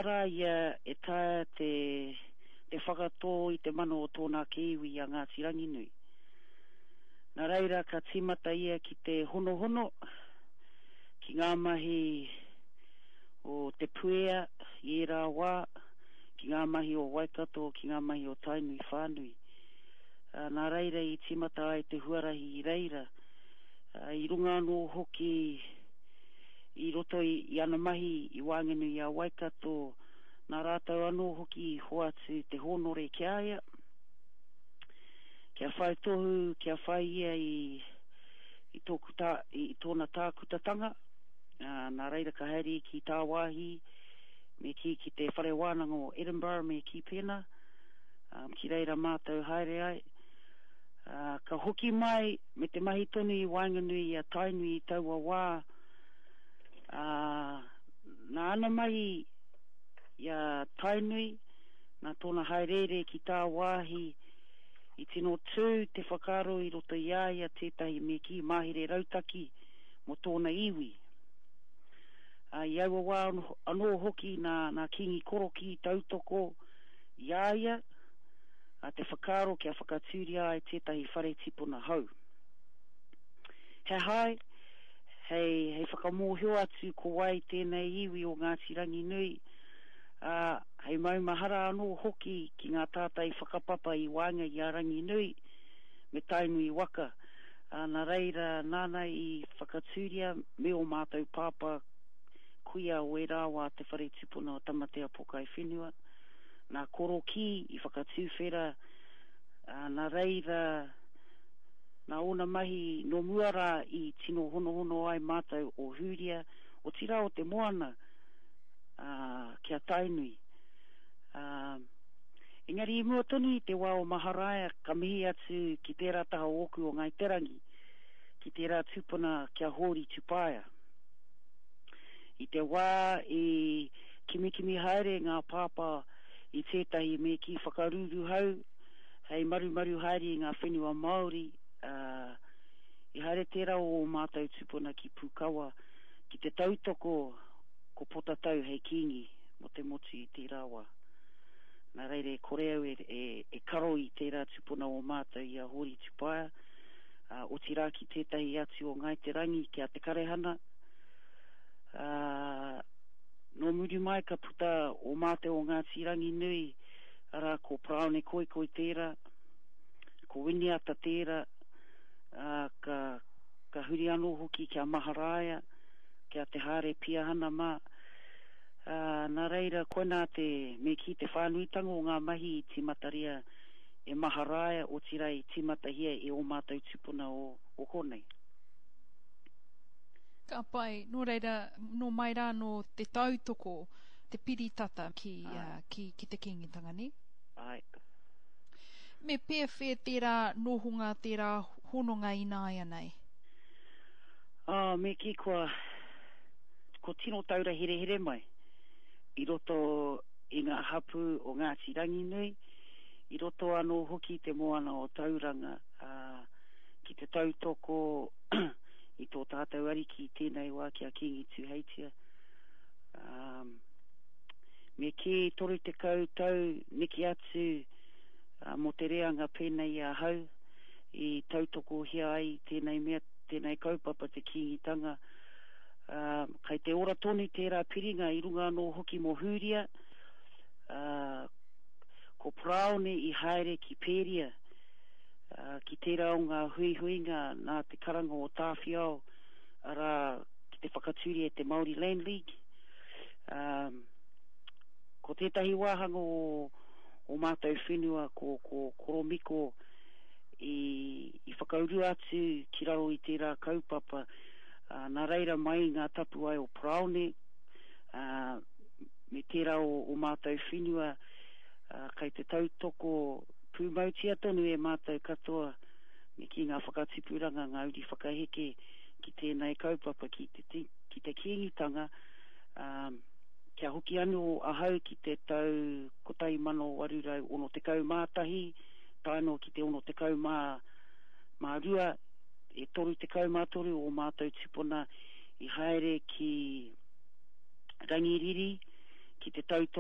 Rā ia e taea te te whakatō i te mana o tōna ake iwi i a Ngāti Ranginui. Nā reira ka tīmata ia ki te honohono ki ngā mahi o Te Puea i ērā wā, ki ngā mahi o Waikato, ki ngā mahi o Tainui whānui. Nā reira i tīmata ai te huarahi i reira, i runga anō hoki i roto i ana mahi i waenganui i a Waikato, nā rātou anō hoki i hoatu te hōnore ki a ia, kia whai tohu, kia whai ia i, i, tōku tā, i tōna tākutatanga, ā, nā reira ka haere ki tāwāhi, me kī ki te whare wānanga o Edinburgh me kī pēnā, ā, ki reira mātou haere ai. Ā, ka hoki mai me te mahi tonu i waenganui i a Tainui i taua wā, ā, nā ana mahi i a Tainui, nā tōna hāereere ki tāwāhi, i tino tū te whakaaro i roto i a ia tētahi me kī mahere rautaki mō tōna iwi. Ā, i aua wā anō hoki nā, nā Kīngi Korokī i tautoko i a ia, ā, te whakaaro kia whakatūria ai tētahi whare tipuna hou. He hae, hei, hei whakamōhio atu ko wai tēnei iwi o Ngāti Ranginui, ā, hei maumahara anō hoki ki ngā tātai whakapapa i waenga i a Ranginui me Tainui waka, ā, nā reira, nāna i whakatūria me ō mātou pāpā kuia o ērā wā te whare tupuna o Tamatea Pokai Whenua. Nā Korokī i whakatuwhera, ā, nā reira, nā ōna mahi nō mua rā i tino honohono ai mātou o Hūria, otirā o te moana, ā, ki a Tainui. Ā, engari i mua tonu i te wā o Maharaia ka mihi atu ki tērā taha ōku o Ngāi Te Rangi, ki tērā tupuna ki a Hōri Tupaea. I te wā i Kimikimi haere ngā pāpā i tētahi me kī whakaruruhau hei marumaru haere i ngā whenua Māori, ā, i haere tērā o ō mātou tūpuna ki Pūkawa ki te tautoko ko Potatau hei kīngi mō te motu i tērā wā. Nā reira e kore au e, e, e karo i tērā tūpuna o mātou i a Hōri Tupaia, ā, otirā ki tētahi atu o Ngāi Te Rangi ki a Te Karehana, ā, Nō muri mai ka puta o mātou o Ngāti Ranginui, arā, ko Paraone Koikoi tērā, ko Winiata tērā, ā, ka, ka huri anō hoki ki a Maharaia, ki a Te Hāre Piahana mā. Ā, nā reira, koinā te, me kī, te whānuitanga o ngā mahi i tīmataria e Maharaia, otirā i tīmatahia e ō mātou tūpuna o, o konei. Ka pai, nō reira, nō mai rā nō te tautoko, te piri tata ki, ki, ki te Kīngitanga, nē? Āe. Me pēwhea tērā nohonga, tērā hononga ināianei? Ā, me kī kua, kua tino taura herehere mai i roto i ngā hapū o Ngāti Ranginui, i roto anō hoki i te moana o Tauranga, ā, ki te tautoko i tō tātou Ariki i tēnei wā ki a Kīngi Tūheitia. Ā, me kī 30 tau neke atu mō te reanga pēnei i ahau i tautokohia ai tēnei mea, tēnei kaupapa te Kīngitanga. Ā, kai te ora tonu tērā piringa i runga anō hoki mō Hūria, ā, ko Paraone i haere ki Pēria, ā, ki tērā o ngā huihuinga nā te karanga o Tāwhiao, arā, ki te whakatūria e te Māori Land League. Ā, ko tētahi wāhanga o, o mātou whenua ko, ko Koromiko i, i whakaurua atu ki raro i tērā kaupapa, ā, nā reira mai i ngā tapuwae o Paraone, ā, me tērā o, o mātou whenua, ā, kei te tautoko pūmautia tonu e mātou katoa me kī ngā whakatipuranga, ngā uri whakaheke ki tēnei kaupapa, ki te, ki te Kīngitanga, ā, kia hoki anō ahau ki te tau 1861 tae noa ki te 62, e 33 ō mātou tupuna i haere ki Rangiriri. ki te tautoko.